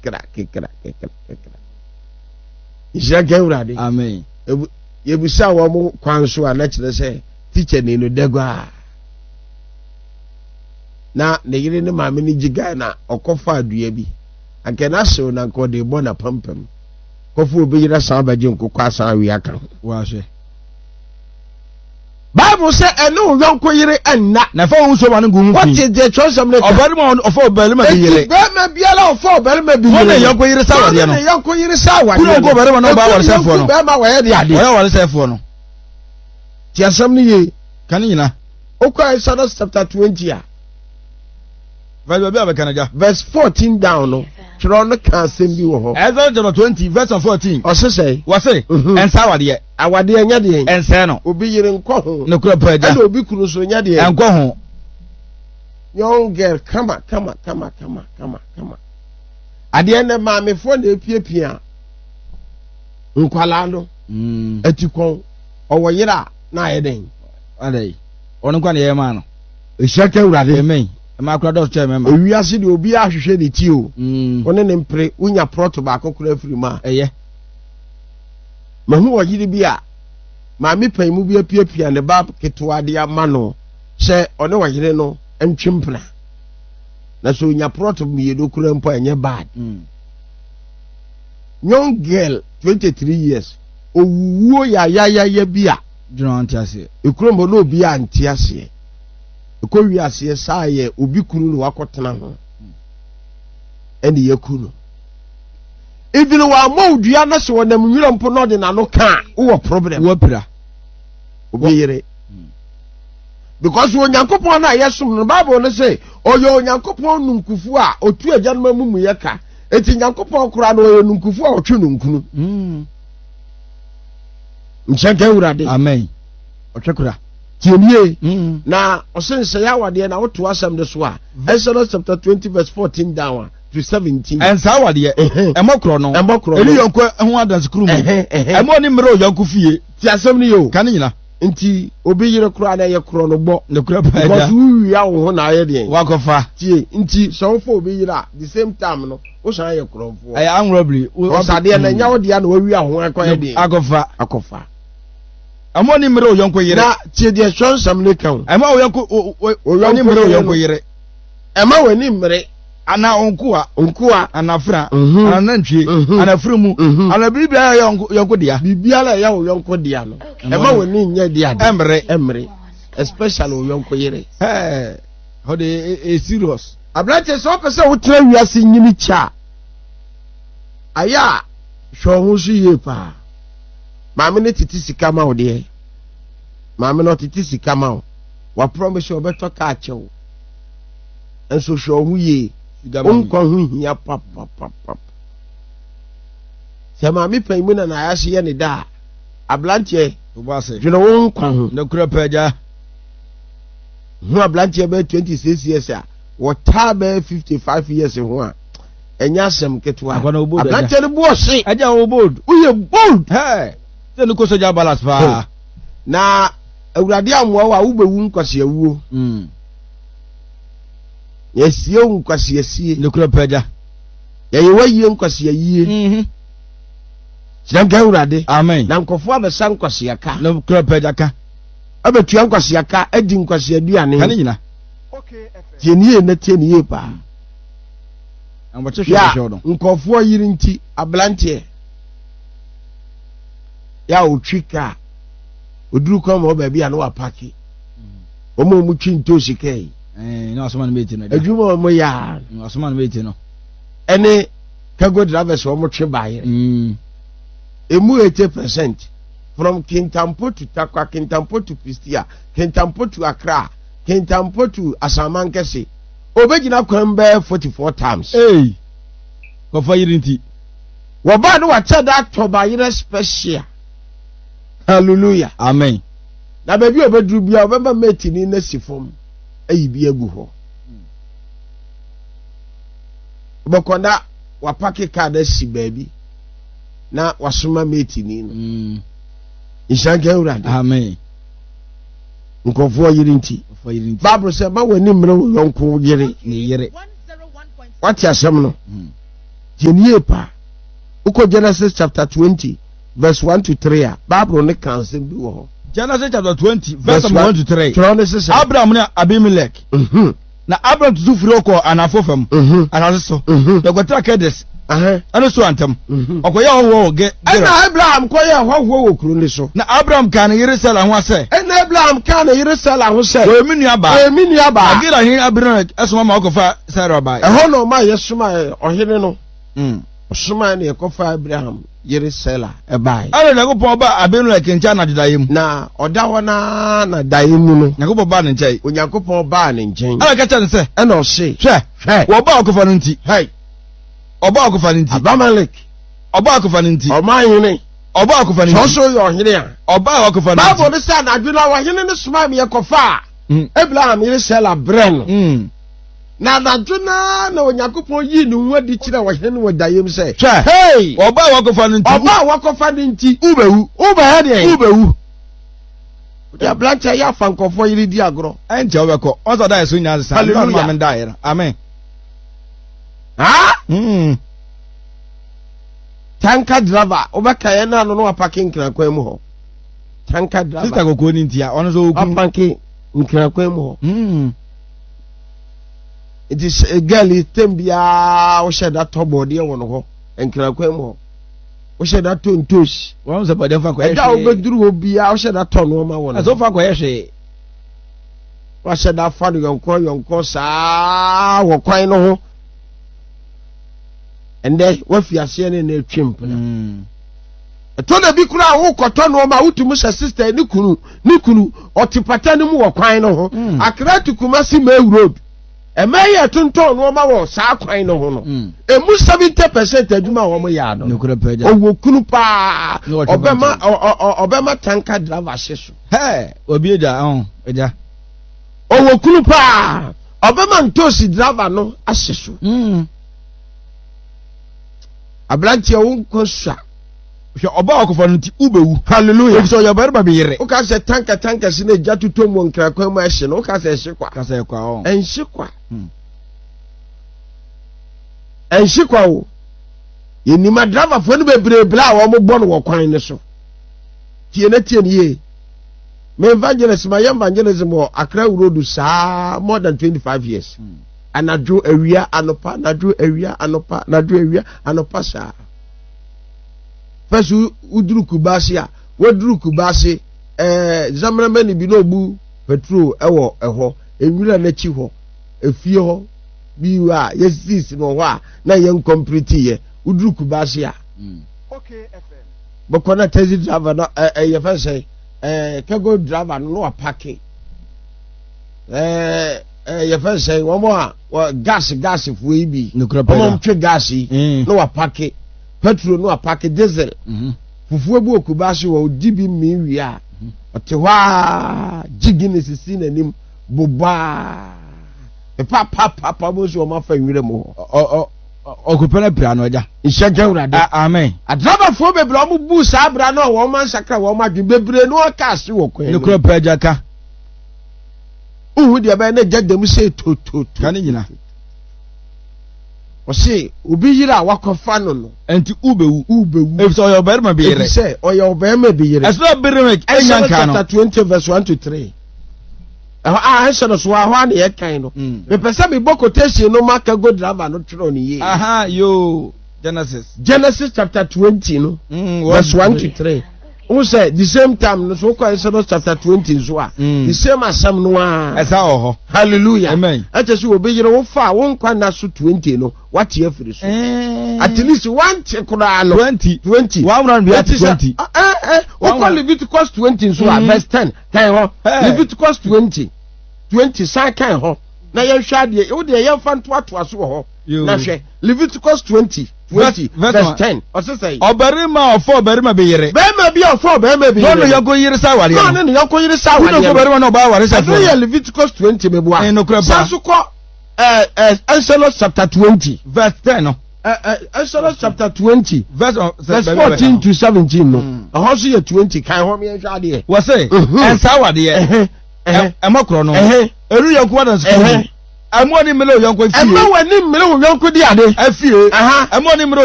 kekra kekra kekra kekra. Nhyira nka Awurade. Amen. Yɛbisa wɔn kwan so a na kyerɛ sɛ tikyani no dagua. Na ne yere ne maame no gye guy na ɔkɔfa dua bi. Anka n'ahyew na anka ɔde bɔ n'apampam. Kɔfo obi yere asan abɛgye nkokɔ asan awe aka ho. Wahwɛ. Bible sɛ ɛne wo yɔnko yere nna. Na fa wo nsuo ma no ngu ho fi. Wote deɛ twerɛsɛm no ka. Ɔbarima a ɔfa ɔbarima bi yere. Enti barima biara a ɔfa ɔbarima bi yere. Wɔn ne yɔnko yere sa awadeɛ no. Wɔn ne yɔnko yere sa awadeɛ no. Kunu yɔnko ɔbarima na ɔbaa awaresɛefoɔ no. Yɔnko barima wɔyɛ de adeɛ. Wɔyɛ awaresɛefoɔ no. Te asɛm no yie. Ka ne nyina. Wokɔ Exodus chapter 20 a. Verse baabi a bɛka no gya. Verse 14 down no, twerɛ no ka asɛm bi wɔ hɔ. Exodus chapter 20 verse 14. Ɔse sɛ. Wɔse, ɛnsa awadeɛ. Awadeɛ nyɛ deɛn? Ɛnsɛe no. Obi yere nkɔ ho. Nokorɛ paa agya. Ɛna obi kunu nso nyɛ deɛn? Ɛnkɔ ho. Young girl kama kama kama kama kama kama. Adeɛ nɛ maamefoɔ na epiapia nkwalaa no. Mm. Ati kɔn ɔwɔ yere a na ayɛ dɛn? Adɛn? Ɔno nkwa na yɛyɛ maa no. Ehyia ka Awurade. Amen. Ɛma akora dɔso kyɛn mɛma. Ewiase deɛ obi ahwehwɛ ne ti o. Mm. Wo ne ne mpere wonya prɔto baako koraa firi mu a. Ɛyɛ. Mahu ɔyere bi a maame pan mu bi apiapia ne ba ketewa de ama no sɛ ɔne ɔyere no ntwe mpena. Na sɛ onya prɔt mmienu koraa mpo a ɛnyɛ bad. Mm. Young girl, 23 years, owuwuo yayayaya bi a. Dwene ɔnte aseɛ. Ekurom hɔ na obi a nte aseɛ. Ɛkɔ wi aseɛ saa yɛ obi kunu na wakɔtena ho. Ɛne yɛku no. Even wammɔ wo dua na sɛ ɔnam nwura mpo na ɔde n'ano ka a, wowɔ problem. Wapira. Obi yere. Because Onyankopɔn no a yɛsom no, Bible no sɛ ɔyɛ Onyankopɔn nunkufu a ɔtu agyanom amumuyɛ ka. Enti Nyankopɔn koraa no ɔyɛ nunkufu a ɔtwe nunkunu. Mm. Nhyɛnka Awurade. Amen. Ɔtwe kora. Tie nie. Mm. Na ɔse nsɛe awadeɛ na woto asɛm no so a, Exodus chapter 20 verse 14 down a, to 17. Ɛnsa awadeɛ. Ɛmmɔ korɔ no. Ɛmmɔ korɔ no. Ɛni yɔnko ho adansekuru mu. Ɛmmɔ ɔne mmerɛ ɔyɔnko fie. Ti asɛm no yɛ o. Ka ne nyina. Nti obi yere koraa na ɛyɛ korɔ no bɔ. Nokorɛ paa agya. Because wowia wo ho na ayɛ deɛn. Wakɔfa. Tie, nti sɛ wofa obi yere a, the same time no, wosan yɛ korɔmfoɔ. Ɛyɛ armed robbery. Because adeɛ no ɛnyɛ wo dea na wawia ho akɔyɛ deɛn. Akɔfa. Akɔfa. Ɛmmɔ ne mmerɛ ɔyɔnko yere. Na tie deɛ Twerɛnsɛm no ka o. Ɛmma ɔyɔnko ɔne mmerɛ ɔyɔnko yere. Ɛmma w'ani mmere. Anaa nkoa. Nkoa. Anaa afena. Mhm. Anaa nantwie. Mhm. Anaa afunumu. Mhm. Anaa biribiara a ɛyɛ yɔnko yɔnko dea. Biribiara a ɛyɛ wo yɔnko dea no. Ɛmma w'ani nyɛ de ade. Ɛmmere. Ɛmmere. Especially wo yɔnko yere. Ɛɛ, hɔ de e e serious. Aberanteɛ sɛ wopɛ sɛ wotena wiase nyini kyɛ a, ayɛ a hwɛ wo ho so yie paa. Maame no tete sika ma wo deɛ. Maame no ɔtete sika ma wo. Wapromise ɔbɛtɔ kaa kyɛ wo. Nso hwɛ wo ho yie. Wo nkwa ho hia papapapap. Sɛ maame pan mu na n'ayase yɛ ne da a, aberanteɛ dwene wo nkwa ho. Nokorɛ pɛ agya. Hu aberanteɛ bɛyɛ 26 years a wɔtaa bɛyɛ 55 years ho a, ɛnyɛ asɛm ketewa. Aberanteɛ no bo ɔhye. Agya wo bold. Woyɛ bold. Hɛɛ, sɛ no kɔ sogya balance paa. Na Awurade ammoa wo a wobɛwu nkwaseawuo. Mm. Yɛasie wo nkwaseasie. Nokorɛ pɛ agya. Yɛyɛ w'ayie nkwaseayie. Mm -hmm. Hyira nka Awurade. Amen. Na nkurɔfoɔ abɛsa nkwaseaka. Nokorɛ pɛ agya ka. Abɛtua nkwaseaka adi nkwaseaduane. Ka ne nyina. Tie ne yie na tie ne yie paa. Na wɔkye hwɛ hwɛ no. Nkurɔfoɔ yere nti aberanteɛ yɛ a ɔtwi kaa ɔduru kwan ma wɔ baabi a na wapake. Wɔn a wɔtwi ntoosi kaa yi. Na wasoma no mate no. Adwuma a wɔyɛ a. Wasoma no mate no. Ɛne cargo drivers wɔn twe baayɛ. Mm. Emu 80% from Kintampo to Tarkwa, Kintampo to Pistia, Kintampo to Accra, Kintampo to Asamankese. Obegyina kwan bɛyɛ 44 times. Hey. Kɔfa yiri nti. Wɔbaa no wakyɛ da atɔ bayerɛ special. Hallelujah. Amen. Na baabi a ɔbɛduru biara ɔbɛma mɛtini no asi fam ayi bi agu hɔ. Wobɛkɔ na wapake kaa no asi baabi na wasoma mɛtini no. Mm. Nhyira nka Awurade. Amen. Nkurɔfoɔ yere nti. Bible sɛ ma w'ani mmere wo yɔnko yere. Ne yere. Wate asɛm no. Mm. Tie no yie paa. Wokɔ Genesis chapter 20 verse 1 to 3 a, Bible no ka asɛm bi wɔ hɔ. Genesis chapter 20 verse 1 to 3. Twerɛ no sesɛ. Abraham ne Abimelech. Na Abraham tutu firi hɔ kɔɔ anafo fam asase so. Na ɔkɔtena Kades ɛne Soar ntam. Ɔkɔyɛɛ hɔhoɔ wɔ Gerar. Ɛnna Abraham kɔyɛɛ hɔhoɔ wɔ kuro no so. Na Abraham kaa ne yere Sara ho sɛ. Ɛnna Abraham kaa ne yere Sara ho sɛ. Ɔyɛ me nuabaa. Ɔyɛ me nuabaa. Na Gerar hene Abimelek soma ma wɔkɔfaa Sara bae. Ɛhɔ na ɔma yɛsomaa ɔhene no. Ɔsomaa na yɛkɔfaa Abraham yere Sara bae. Ɛnna Onyankopɔn baa Abimelek nkyɛn anadwo daeɛ mu. Na ɔda hɔ no ara na daeɛ mu no. Onyankopɔn baa ne nkyɛn. Onyankopɔn baa ne nkyɛn. Ɛnna ɔka kyerɛɛ no sɛ. Ɛnna ɔse. Hwɛ! Hwɛ! Wɔbaa ɔkofa no nti. Hɛi! Ɔbaa ɔkofa no nti. Abimelek. Ɔbaa ɔkofa no nti. Ɔman hene. Ɔbaa ɔkofa no nti. Sɛ ɔso yɛ ɔhene a. Ɔbaa ɔkofa no nti. Bible no sɛ anadwo no ɔhene no somaa me yɛkɔfaa Abraham yere Sara brɛɛ no. Na anadwo no ara na Onyankopɔn yii ne ho adi kyerɛɛ ɔhene no wɔ daeɛ mu sɛ, Hwɛ! Hei! Ɔbaa a wakɔfa no nti. Ɔbaa a wakɔfa no nti. Wobɛwu. Wobɛyɛ deɛn? Wobɛwu. Wode aberanteɛ yɛ afa nkurɔfoɔ yere di agorɔ. Ɛnkyɛ wobɛkɔ. Ɔsɛ ɔda yɛ so nyinaa sesa. Hallelujah. Maame daeɛ no. Amen. Ha? Mm. Tanka driver, wobɛka yɛn na ano no wapake nkrakwan mu hɔ. Tanka driver. Sista kɔkɔɔ ni ntia, ɔno nso okunu. Wapake nkrakwan mu hɔ. Mm. Nti eh, girl yi tem biara wohyɛ da tɔ bɔɔdeɛ wɔ no hɔ, nkrakwan mu hɔ. Wohyɛ da tɔ ntosi. Wɔn sɛ bɔɔdeɛ fa kɔyɛ hwee. Ɛda a wobɛduru hɔ biara wohyɛ da tɔ nneɛma wɔ no hɔ. Ɛsɛ fa kɔyɛ hwee. Wahyɛ da fa no yɔnko yɔnko saa wɔ kwan no ho. Ɛndɛ wafi aseɛ ne na atwi mpena. Mm. Ɛtɔ da bi koraa wokɔtɔ nneɛma a wotumi sɛ sista ne kunu ne kunu ɔte pata no mu wɔ kwan no ho. Mm. Accra to Kumasi May Road. Ɛmɛ yɛ tontɔn nneɛma wɔ saa kwan no ho no. Mm. Emu 70% adwuma a wɔn yɛ ano. Nokorɛ pɛ gya. Ɔwɔ kunu paa. Ne wɔtwe Ɔbɛma kwan ɔbɛma tanka driver hye so. Hɛ, obi agya, ɔn, agya. Ɔwɔ kunu paa. Ɔbɛma ntoosi driver no ahye so. Mm. Aberanteɛ wo nkwa sua. Hwɛ ɔbaa ɔkɔfa no nti wobɛwu. Hallelujah. Efisɛ ɔyɛ ɔbarima bi yere. Woka sɛ tanka tanka si na egya totɔ mu wɔ nkrakwan mu ɛhye no woka sɛ ɛhye kwa. Ka sɛ ɛkwa ɔn. Ɛnhye kwa. Hmm. Ɛnhye kwa o. Yɛnim adravafoɔ no bebree bla a wɔn bɔ no wɔ kwan no so. Tie na tie no yie. Me evangelist ma yɛ evangelism wɔ Accra Road saa more than 25 years. Hmm. Anadwo awia anɔpa anadwo awia anɔpa anadwo awia anɔpa saa. First woduru Kumasi a waduru Kumasi ɛɛ eh, zamramani bi na ɔbu petrol ɛwɔ ɛhɔ nwura n'akyi hɔ efie hɔ bi a yɛsisi no hɔ a na yɛn nkɔmplete yɛ woduru Kumasi a hmm. bɛkɔ na taxi driver no ɛɛ eh, yɛfɛ sɛ ɛɛ eh, kɛgo driver no na wapake ɛɛ ɛɛ yɛfɛ sɛ wɔn a wɔ gas gas foɔ yi bi wɔn a twe gas yi mm. na wapake petrol na wapake diesel mm-hmm. fufuo bi wɔ Kumasi wɔ odi bi mmii wie a mm-hmm. ɔte hɔ a gye Guinness si n'anim bobaa pepapapapa mo nso wɔn afa nwura mu hɔ. Ɔkopɛ no pira no agya. Nhyɛ nka Awurade. Amen. Adrabafoɔ bebree a wɔn bu saa abira no a wɔn ansakra wɔn adwene bebree no aka ase wɔ kwan mu. Nokorɛ pɛ agya ka. Wohu deɛ ɛbɛyɛ na gya dam sɛ tototo. Ka ne nyina. Ɔse obi yere a wakɔfa no no. Ɛnti wobɛwu. Wobɛwu. Efisɛ ɔyɛ ɔbarima bi yere. Efisɛ ɔyɛ ɔbarima bi yere. Ɛsɛ Abimelek nya Exodus nka no. chapter 20 verse 1 to 3. Ɛhɔ a ɛhyɛ no so a ɛhɔ a na yɛkan no. Mm. Mepɛ sɛ mebɔ quotation no ma Kago driver no twerɛ no yie. Aha yoo Genesis. Genesis chapter 20 no. Mm, verse 1 to 3. Wohu sɛ the same time no so wokɔ Exodus chapter 20 nso a mm. the same asɛm no ara. Ɛsa wɔ hɔ. Hallelujah. Amen. Ɛkyɛ sɛ obi yere wo fa a wo nkwa nna so 20 no wate afiri so. Eh. At least wante koraa no. 20. 20. One round bi ate 20. Eh eh wokɔ Leviticus 20 nso a mm. verse 10 kan hɔ. Leviticus 20 20 san kan hɔ na yɛnhwɛ adeɛ wo deɛ yɛmfa ntoatoa so wɔ hɔ na hwɛ Leviticus 20 20 verse 10 ɔse sɛ ɔbarima a ɔfa ɔbarima bi yere barima bi a ɔfa ɔbarima bi yere na ɔne yɔnko yere sa awadeɛ no na ɔne ne yɔnko yere sa awadeɛ no ɔbarima na ɔbaa aware sɛ ɛno yɛ Leviticus 20 meboa nokorɛ paa san so kɔ Exodus chapter 20 verse 10 no Exodus chapter 20 verse, verse 14 to 17 no ɛhɔ nso yɛ 20 kan hɔ meɛnhwɛ adeɛ wɔ se ɛnsa awadeɛ ɛmɔ korɔ no ɛnu yɔnko adansekuruma. Ɛmma w'ani mmere wo yɔnko fie. Ɛmma w'ani mmere wo yɔnko di ade. Afie. Ɛmma w'ani mmere.